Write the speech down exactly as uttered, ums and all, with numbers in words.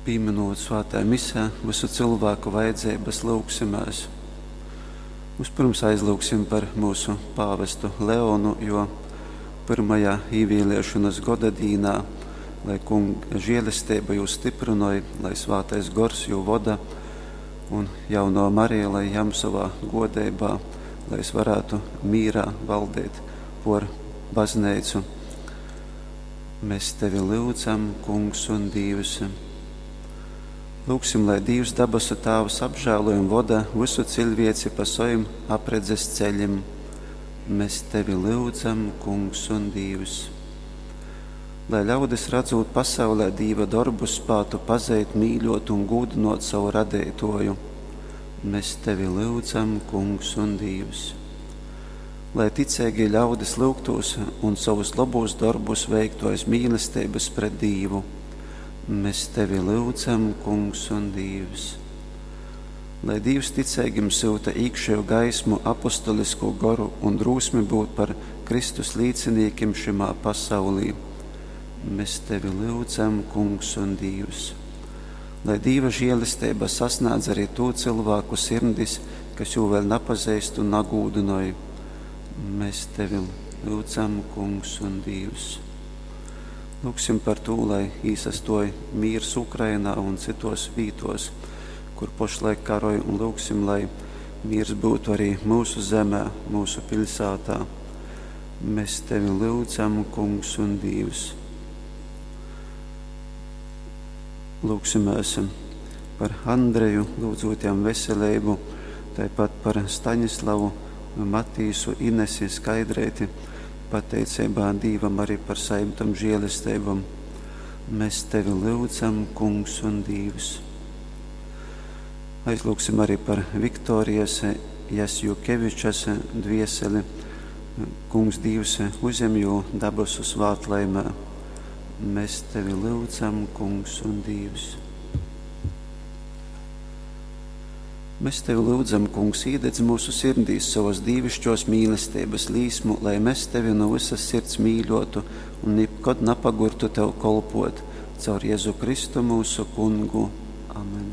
Pīminūt svētā misē visu cilvēku vajadzības, lūgsimēs. Vispirms aizlūgsim par mūsu pāvestu Leonu, jo pirmajā īvēlēšanas goda dīnā, lai kunga žēlestība jūs stiprinoja, lai svētais gors jū voda un jauno Marija, lai jam savā godeibā, lai es varētu mīrā valdīt por baznīcu. Mēs tevi lūdzam, kungs un Dievs. Lūksim, lai Dievs dabasu Tāvs apžēloja un voda visu cilvēci pa saviem apredzes ceļiem. Mēs tevi lūdzam, kungs un Dievs. Lai ļaudis redzot pasaulē Dieva darbus, spētu pazīt, mīļot un gūdinot savu radītoju. Mēs tevi lūdzam, kungs un Dievs. Lai ticīgi ļaudis lūgtos un savus labos darbus veiktu aiz mīlestības pret Dievu. Mēs tevi lūdzam, kungs un Dievs. Lai Dievs ticīgiem sūta iekšējo gaismu, apostolisko goru un drosmi būt par Kristus līdziniekiem šimā pasaulī. Mēs tevi lūdzam, kungs un Dievs. Lai Dieva žēlestība sasniedz arī to cilvēku sirdis, kas jū vēl nepazīst un nagūdinoja. Mēs tevi lūdzam, kungs un Dievs. Lūksim par to, lai īsastoja mīrs Ukrainā un citos vītos, kur pašlaik karoja, un lūksim, lai miers būtu arī mūsu zemē, mūsu pilsētā. Mēs tevi lūdzam, kungs un Dievs. Lūksimies par Andreju, lūdzot jam veselību, tāpat par Staņislavu, Matīsu, Inesi, Skaidrēti, pateicībā Dievam arī par saimtam žēlestībam. Mēs tevi lūdzam, kungs un Dievs. Aizlūgsim arī par Viktorijas Jasjukevičas dvieseli. Kungs Dievs uzņem jū dabasu svētlaimē. Mēs tevi lūdzam, kungs un Dievs. Mēs tevi lūdzam, kungs, iededz mūsu sirdīs savas dievišķos mīlestības līsmu, lai mēs tevi no visas sirds mīļotu un nekad nepagurtu tev kolpot. Caur Jēzu Kristu mūsu kungu. Amen.